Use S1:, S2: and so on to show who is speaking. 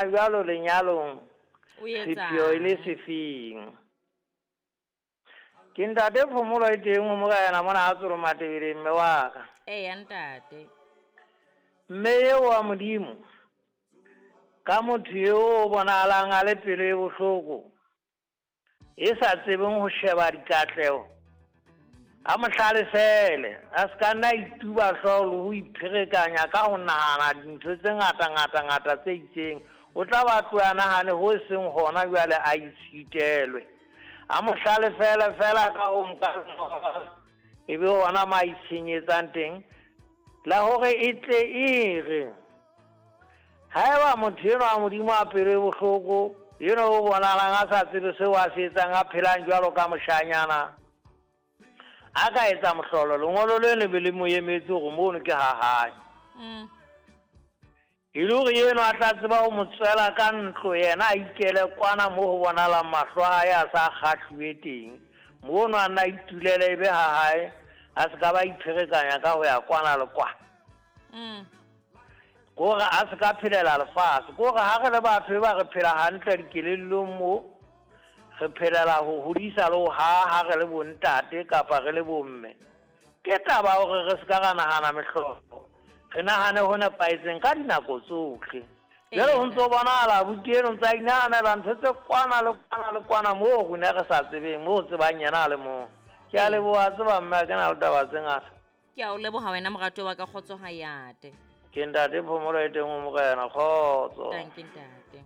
S1: Jwalo lenyalong
S2: O etsang?
S1: sepheo e le sefeng? Ke ntate Phomolo e teng ho morena mona a tsolo Matebeleng mme wa ka.
S2: Eya ntate.
S1: Mme eo wa Modimo ka motho eo o bonahalang a le pelo e bohloko e sa tsebeng ho sheba dikatleho a mo hlalefele a se ka nna a ituba hlooho le ho ipherekanya ka ho nahana dintho tse ngata ngata ngata tse itseng. O tla ba tloha nahane ho seng hona jwale a itshitelwe. A mo hlalefele fela ka ho nka e be hona ma itshenyetsang teng la hore e tle e re haeba motho enwa wa Modimo a pelo e bohloko enwa o bonahalang a sa tsebe seo a se etsang a phelang jwalo ka moshanyana a ka etsa mohlolo lengolo le le be le mo emetse hore mono ke ha hae. E le hore enwa a tla tseba ho mo tswela ka ntlo yena a ikele kwana mo ho bonahalang mahlo a hae a sa kgahluwe teng. Mono a nna a itulele e be ha hae a se ka ba ipherekanya ka ho ya kwana le kwana. Kore a se ka phelela lefatshe. Kore ha re le batho e ba re phela hantle dikelellong mo, re phelela ho hodisa le ho haha re le bontate kapa re le bomme. Ke taba hore re se ka ra nahana mehlolo. Re nahane ho nepahetseng ka dinako tsohle. Jwale ho ntso bonahala abuti eno ntse a inahanela ntho tse kwana le kwana le kwana moo rona re sa tsebeng, moo tsebang yena a le mong. Ke a leboha tseba mme ha ke na le taba tse ngata.
S2: Ke a o leboha wena moratuwa wa ka, kgotso ha yate.
S1: Ke ntate Phomolo e teng ho morena, kgotso.
S2: Tanki ntate.